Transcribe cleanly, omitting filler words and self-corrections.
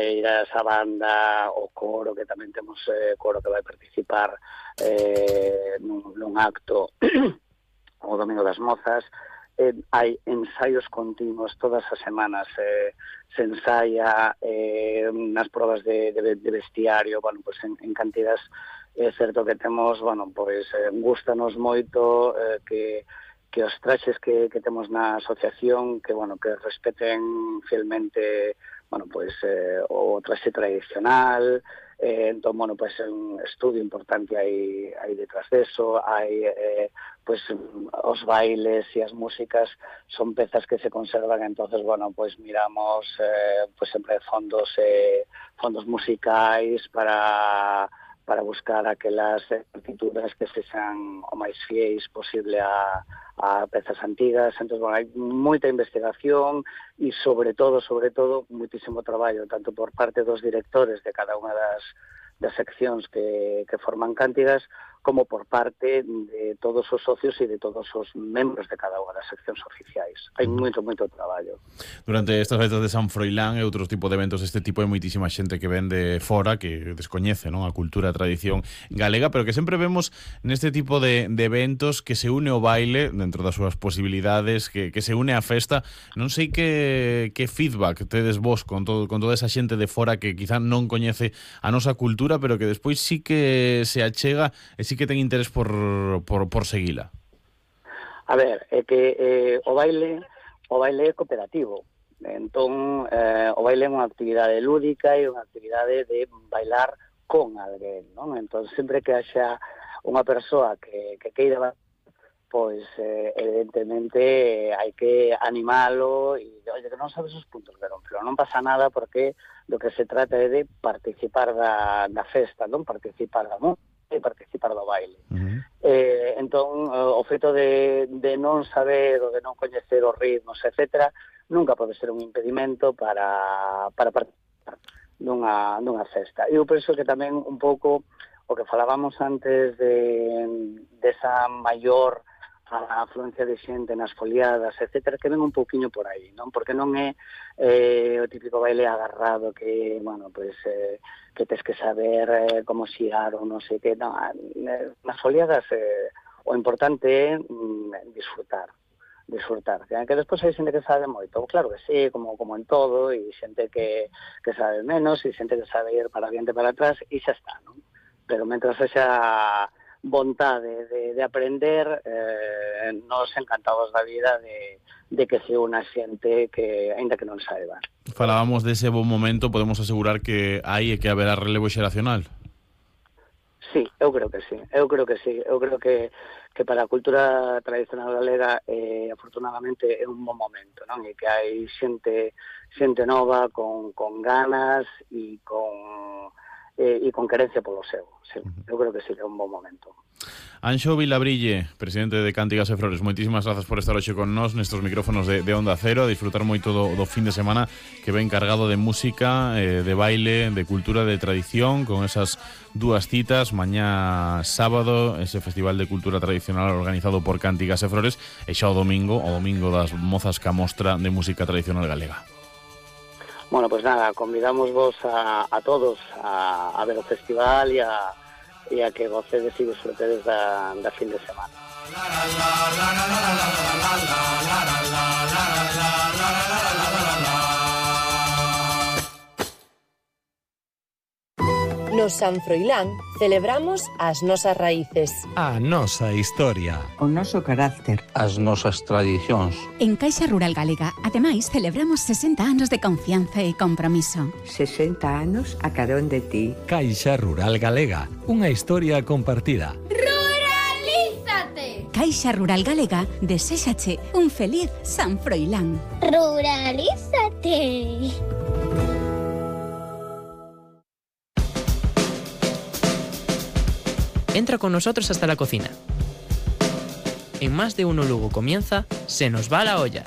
esa banda, o coro, que tamén temos coro que vai participar nun acto o Domingo das Mozas. Hai ensaios continuos todas as semanas, se ensaia nas probas de vestiario, bueno, pues en cantidades. É certo que temos, bueno, pues gustanos moito que os traxes que temos na asociación, que, bueno, que respeten fielmente, bueno, pues o traxe tradicional. Entón, bueno, pues un estudio importante hai detrás deso, hai pues os bailes e as músicas son pezas que se conservan. Entonces, bueno, pues miramos pues sempre fondos musicais para buscar aquelas partituras que sexan o máis fiéis posible a pezas antigas. Entón, bueno, hai moita investigación e, sobre todo, muitísimo traballo, tanto por parte dos directores de cada unha das seccións que forman Cántigas, como por parte de todos os socios e de todos os membros de cada unha das seccións oficiais. Hai moito traballo. Durante estas feitas de San Froilán e outros tipos de eventos deste tipo, hai moitísima xente que ven de fora, que descoñece, non, a cultura e a tradición galega, pero que sempre vemos neste tipo de eventos que se une o baile dentro das súas posibilidades, que se une a festa. Non sei que feedback tedes vos con toda esa xente de fora que quizá non coñece a nosa cultura, pero que despois sí que se achega e sí que ten interés por seguila. A ver, é que o baile é cooperativo. Entón, o baile é unha actividade lúdica e unha actividade de bailar con alguén, non? Entón, sempre que haxa unha persoa que queira, pois, evidentemente, hai que animalo e, oye, que non sabes os puntos de non, pero non pasa nada, porque do que se trata é de participar da festa, non participar da música e participar do baile. Entón, o feito de non saber ou de non coñecer os ritmos, etcétera, nunca pode ser un impedimento para participar dunha festa. Eu penso que tamén un pouco o que falábamos antes desa maior a afluencia de xente nas foliadas, etcétera, que ven un pouquiño por aí, non? Porque non é o típico baile agarrado que, bueno, pues que tes que saber como xiar ou non sei que, non, nas foliadas o importante é disfrutar, que despois hai xente que sabe moito, claro que sí, como en todo, e xente que sabe menos, e xente que sabe ir para adiante e para atrás, e xa está, non? Pero mentras esa vontade de aprender, nos encantados da vida de que se unha xente que, aínda que non saiba. Falábamos dese bon momento, podemos asegurar que hai e que haberá relevo xeracional? Sí, eu creo que sí. Eu creo que para a cultura tradicional galega, afortunadamente, é un bon momento, non? E que hai xente nova con ganas e con querencia polo seu. Sí, eu creo que sí que é un bon momento. Anxo Vilabrille, presidente de Cántigas e Flores, moitísimas grazas por estar hoxe con nós nestes micrófonos de Onda Cero, a disfrutar moito do fin de semana que ven cargado de música, de baile, de cultura, de tradición, con esas dúas citas, mañá sábado, ese Festival de Cultura Tradicional organizado por Cántigas e Flores, e xa o domingo das Mozas ca Mostra de Música Tradicional Galega. Bueno, pues nada, convidamos vos a todos a ver o festival e a que gocedes e disfrutedes da fin de semana. No San Froilán celebramos as nosas raíces, a nosa historia, o noso carácter, as nosas tradicións. En Caixa Rural Galega, ademais, celebramos 60 anos de confianza e compromiso. 60 anos a carón de ti. Caixa Rural Galega, unha historia compartida. ¡Ruralízate! Caixa Rural Galega deséxache un feliz San Froilán. ¡Ruralízate! Entra con nosotros hasta la cocina. En Más de Uno Lugo comienza Se nos va la olla.